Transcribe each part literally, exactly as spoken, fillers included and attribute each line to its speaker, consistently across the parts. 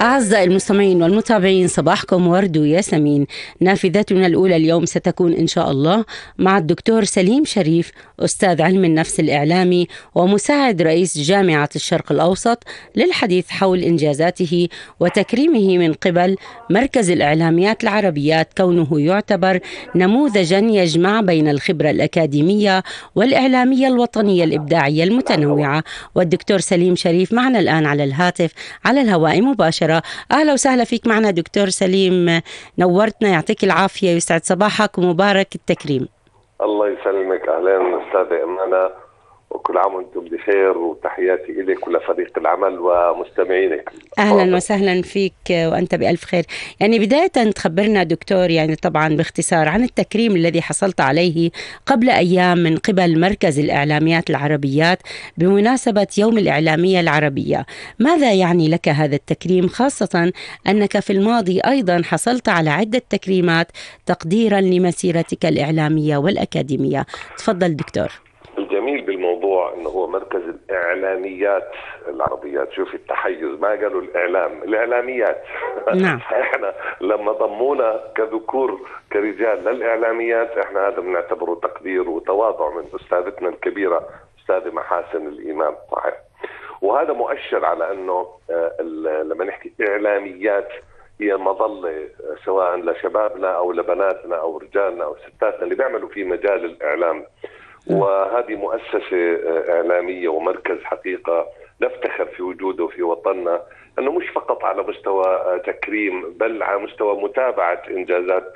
Speaker 1: أعزائي المستمعين والمتابعين، صباحكم ورد وياسمين. نافذتنا الأولى اليوم ستكون إن شاء الله مع الدكتور سليم شريف، أستاذ علم النفس الإعلامي ومساعد رئيس جامعة الشرق الأوسط، للحديث حول إنجازاته وتكريمه من قبل مركز الإعلاميات العربيات، كونه يعتبر نموذجا يجمع بين الخبرة الأكاديمية والإعلامية الوطنية الإبداعية المتنوعة. والدكتور سليم شريف معنا الآن على الهاتف على الهواء مباشرة. أهلا وسهلا فيك معنا دكتور سليم، نورتنا، يعطيك العافية، يسعد صباحك ومبارك التكريم.
Speaker 2: الله يسلمك. أهلا أستاذة أمانة، وكل عام وانتم بخير، وتحياتي إليك ولفريق العمل ومستمعينك.
Speaker 1: أهلا وسهلا فيك وأنت بألف خير. يعني بداية تخبرنا دكتور، يعني طبعا باختصار، عن التكريم الذي حصلت عليه قبل أيام من قبل مركز الإعلاميات العربيات بمناسبة يوم الإعلامية العربية. ماذا يعني لك هذا التكريم، خاصة أنك في الماضي أيضا حصلت على عدة تكريمات تقديرا لمسيرتك الإعلامية والأكاديمية؟ تفضل دكتور.
Speaker 2: الجميل بالموضوع انه هو مركز الاعلاميات العربيات. شوف التحيز، ما قالوا الاعلام، الاعلاميات.
Speaker 1: نعم.
Speaker 2: احنا لما ضمونا كذكور كرجال للاعلاميات، احنا هذا بنعتبره تقدير وتواضع من استاذتنا الكبيره استاذه محاسن الامام. صحيح. وهذا مؤشر على انه لما نحكي اعلاميات هي مظله سواء لشبابنا او لبناتنا او رجالنا او ستاتنا اللي بيعملوا في مجال الاعلام. وهذه مؤسسة إعلامية ومركز حقيقة نفتخر في وجوده في وطننا، أنه مش فقط على مستوى تكريم، بل على مستوى متابعة إنجازات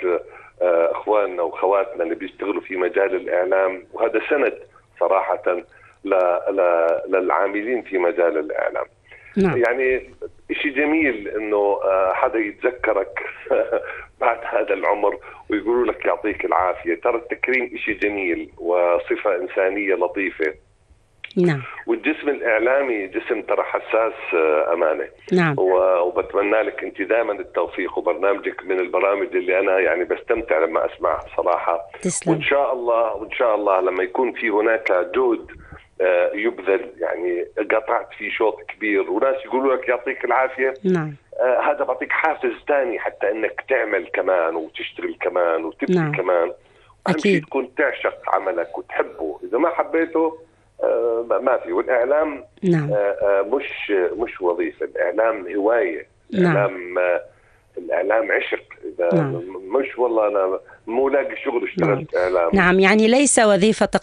Speaker 2: أخواننا وخواتنا اللي بيشتغلوا في مجال الإعلام. وهذا سند صراحة للعاملين في مجال الإعلام. نعم. يعني إشي جميل إنه حدا يتذكرك بعد هذا العمر ويقولوا لك يعطيك العافية. ترى التكريم إشي جميل وصفة إنسانية لطيفة.
Speaker 1: نعم.
Speaker 2: والجسم الإعلامي جسم ترى حساس أمانة.
Speaker 1: نعم.
Speaker 2: وبتمنى لك أنت دائما التوفيق، وبرنامجك من البرامج اللي أنا يعني بستمتع لما أسمعها صراحة.
Speaker 1: تسلم.
Speaker 2: وإن شاء الله وإن شاء الله لما يكون في هناك جهد يبذل، يعني قطعت في شوط كبير وناس يقولوا لك يعطيك العافية.
Speaker 1: نعم.
Speaker 2: آه هذا بعطيك حافز تاني حتى انك تعمل كمان وتشتغل كمان وتبني. نعم. كمان. أهم شيء تكون تعشق عملك وتحبه. إذا ما حبيته آه ما في. والإعلام
Speaker 1: نعم.
Speaker 2: آه آه مش مش وظيفة، الإعلام هواية. الإعلام نعم. آه الإعلام عشق. إذا نعم. مش والله أنا مو لاقي شغل اشتغلت نعم. إعلام.
Speaker 1: نعم، يعني ليس وظيفة